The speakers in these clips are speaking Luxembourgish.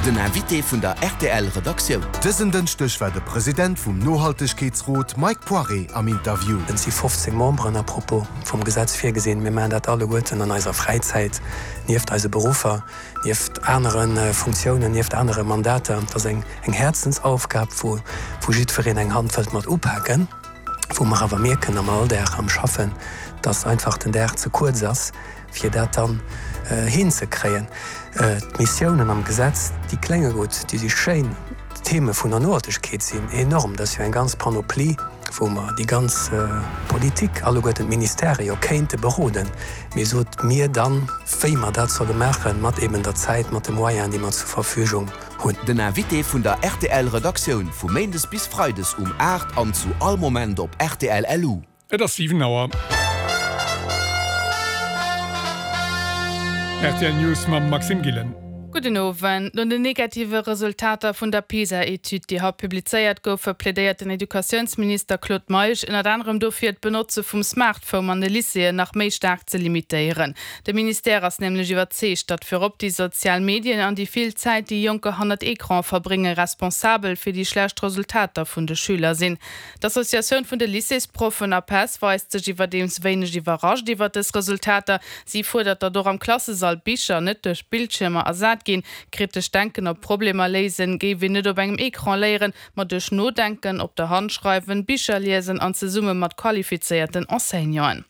Den Invité vun der rtl Redaktioun. Dësen Dënschdeg war de President vum Nohaltegkeetsrot Mike Poiré am Interview. Et si 15 Memberen à propos vum Gesetz virgesinn. Mir maachen dat alleguerten an eiser Fräizäit, nieft eise Beruffer, nieft anere Funktiounen, nieft anere Mandater. Et ass eng Häerzensaufgab, wou jiddwereen eng Hand wëllt mat upaken, wou mer awer mierken am Alldag, am Schaffen, dass einfach den Dag ze kuerz ass, fir dat dann hinzekréien. D'Missiounen am Gesetz, déi klénge gutt, déi si schéin, d'Theme vun der Nohaltegkeet sinn enorm, dat ass jo eng ganz Panoplie, wou mer déi ganz Politik, alleguerten d'Ministèrë jo kéinte beroden, mee sot mir dann, wéi mer dat solle maachen, mat eben der Zäit, mat de Moyenen, déi mer zur Verfügung hunn. Den Invité vun der rtl Redaktioun vu Méindes bis Freides um 8 an zu all Moment op rtl.lu. Et ass 7 Auer. Rtl News mam Maxime Gillen. Gudden Owend. No den negative Resultater vun der PISA-Etüd, déi haut publizéiert goufe, plädéiert den Educatiounsminister Claude Meisch ënnert anerem dofir, d'Benotze vum Smartphone an de Lycéeën nach méi staark ze limitéieren. De Ministère ass nämlech iwwerzeegt, datt virop déi sozial Medien an déi vill Zäit, déi Jonker hannert Ecrane verbréngen, responsabel fir déi schlecht Resultater vun de Schüler sinn. D'Associatioun vun de Lycéesproffen, APESS, weist sech iwwerdeems wéineg iwwerrascht iwwer dës Resultater. Si fuerdert, datt och am Klassesall d'Bicher net duerch Bildschiermer ersat ginn. Kritescht Denken op Problemer léisen géif een net op engem Ecran léieren, ma duerch Nodenken, op der Hand schreiwen, Bicher liesen an zesumme mat qualifizéierten Enseignanten.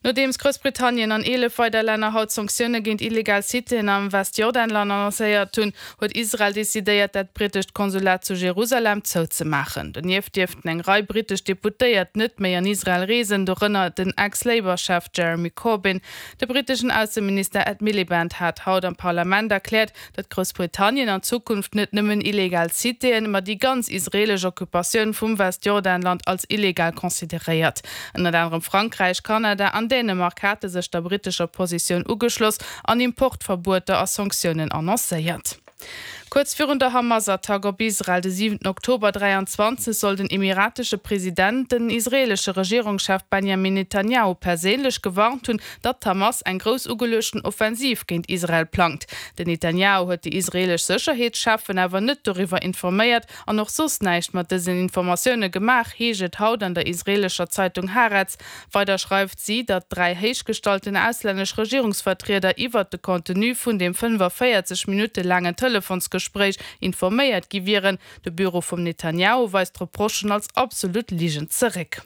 Nodeems Groussbritannien an 11 weider Länner haut Sanktioune géint illegal Citéen am Westjordanland annoncéiert hunn, huet Israel decidéiert, dat brittescht Konsulat zu Jerusalem zouzemaachen. Donieft dierften eng Rei brittesch Deputéiert net méi an Israel reesen, dorënner den Ex-Labour-Chef Jeremy Corbyn. De britteschen Ausseminister Ed Miliband hat haut am Parlament erkläert, datt Groussbritannien an Zukunft net nëmmen illegal Citéen, ma déi ganz israeelesch Occupatioun vum Westjordanland als illegal consideréiert. Ënnert anerem Frankräich, Kanada an Dänemark hate sech der brittescher Positioun ugeschloss an Importverbueter a Sanktiounen annoncéiert. Kuerz virun der Hamas-Attack op Israel de 7 Oktober 23 soll den emiratesche President den israeelesche Regierungschef Benjamin Netanjahu perséinlech gewarnt hunn, datt d'Hamas eng grouss ugeluechten Offensiv géint Israel plangt. Den Netanjahu huet déi israeelesch Sécherheetscheffen awer net doriwwer informéiert an och soss näischt mat dësen Informatioune gemaach, heescht et haut an der israeelescher Zeitung Haaretz. Weider schreift si, datt 3 héichgestallten auslännesch Regierungsvertrieder iwwert de Contenu vun deem 45 Minutte laangen Telefonsgespréich informéiert gi wieren. De Büro vum Netanjahu weist d'Reprochen als absolut Ligen zeréck.